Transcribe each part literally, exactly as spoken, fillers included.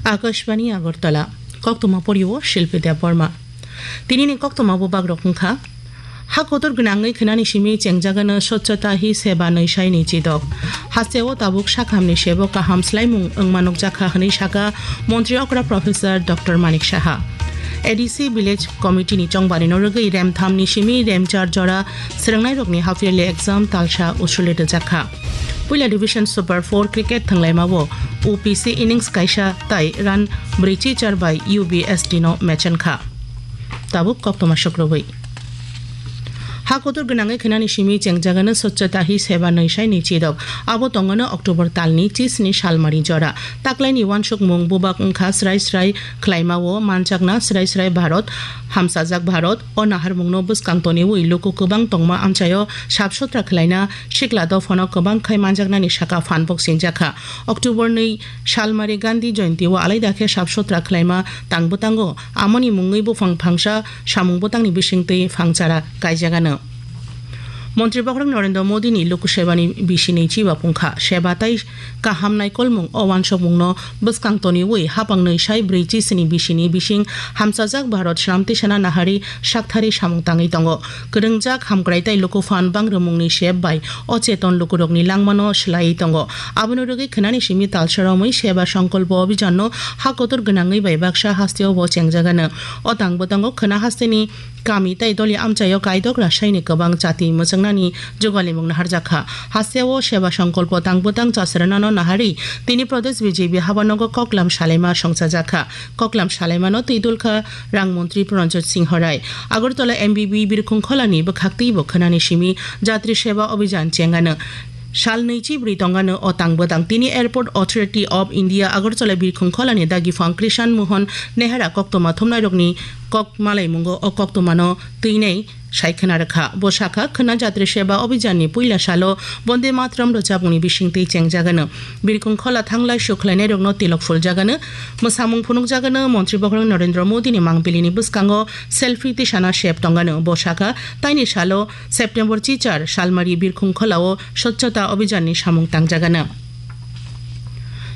Akashbani Agartala, koktwma porio Shilpi Debbarma. Tinini koktwma bubagrok wngkha: Ha kotor gwnangwi khwnani simi chengjagano Swachhata Hi Seva nwi saini chidok. Hasteo tabuk sakhamni sebo kaham swlaimung wngma nukjakha hwnwi sakha Montri okra Professor Doctor Manik Saha. A D C Village Committee ni chongbarino rwgwi remthamni simi remchar jora swrwngnairokni half yearly exam talsa usuli rwjakha. Puila Division Super four cricket thwnglaimao U P C innings kaisa tai run brwichi char bai U B S T no mechenkha. Tabuk koktwma sukrubwi. Ha kotor gwnangwi khwnani simi chengjagano Swachhata Hi Seva nwi saini chidok. Abo tongano October talni chisni salmari jora. Taklaini wansukmung bubak wngkha srai srai khwlaimao manjakna srai srai Bharat, hamsajak Bharat. O naharmungno bwskang toniwi luku kwbang tongma amchaio sap sutra khwlaina sikla dophano kwbang khai manjaknani saka phan boksinjakha. October nwi salmari Gandhi Jayanti o alaida khe sap sutra khwlaima tang bwtango. Amoni mungwi buphang phangsa samung bwtangni bisingtwi phangchara kaijagano. Montri Bokhorok Narendra Modi ni Lok Sabha ni bisini chiba pungkha. Seba tai kaham naikolmung o wansokmungno bwskang toniwi hapang nwi sai brwichi sini bisini bising hamsajak Bharat swnam tisana nahari sakthari samung tangwi tongo. Kwrwngjak hamkrai tai luku phan bangrwmungni sep bai o cheton lukurokni langmano swlaiwi tongo. Abono rwgwi khwnani simi talsa romwi Seba Sankalpa Abhijanno ha kotor gwnangwi bai baksa hasteo bo chengjagano. O tang bwtango khwna hasteni kami tai doli amchaio kaidok rasaini kwbang chati mwchwngnani jugalimung naharjakha. Hasteo Seba Sankalpa tang bwtang chasranano nahari tini Pradesh B J P habanogo koklam salaima songchajakha. Koklam salaimano twidulkha Rang Montri Pranjot Singh Rai. Agartala M B B Birkhung Kholani bwkhaktwibo khwnani simi Jatri Seba Abhijan chengano. Sal nwichi bwrwi tongano o tang bwtang tini Airport Authority of India Agartala Birkhung Kholani dagifang Krishan Mohan Nehara koktwma thumnairokni kok malaimungo o koktwmano twinai sai khwna rwkha. Bo sakha, khwna Jatri Seba Abhijanni puila salo Bonde Mataram rwchapmungni bisingtwi chengjagano. Birkhung Khola thanglai sukhlainairokno tilok phuljagano. Mwsamung phunukjagano Montri Bokhorok Narendra Modini mangpilini bwskango selfie tisana sep tongano. Bo sakha, taini salo September chichar salmari Birkhung Kholao Swachhata Abhijanni samung tangjagano.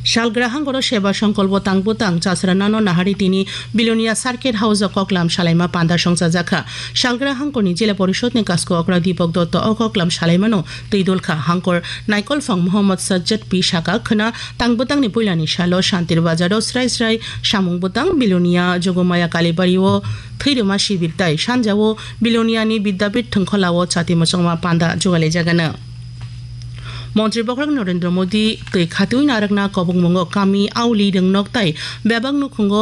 Salgra hangkoro Seba Sankalpa tang bwtang chasranano nahari tini Bilonia Circuit House o koklam salaima panda songchajakha. Salgra hangkorni Jila Porishod ni Kasko Okra Deepak Dutta o koklam salaimano twidulkha. Hangkor naikolphang Mohammad Sajjad P sakha, khwna tang bwtangni puilani salo Shantir Bazar o srai srai samung bwtang Bilonia Jogomaya Kalibari o thwirwma sibir tai sanjao Bilonia ni Vidyapith thwngkhola o chati mwchangma panda jugalijagano. Montri Bokhorok Narendra Modi twi khatwi narwkna kobokmungo kami, auli, rwngnok tai bebak nukhungo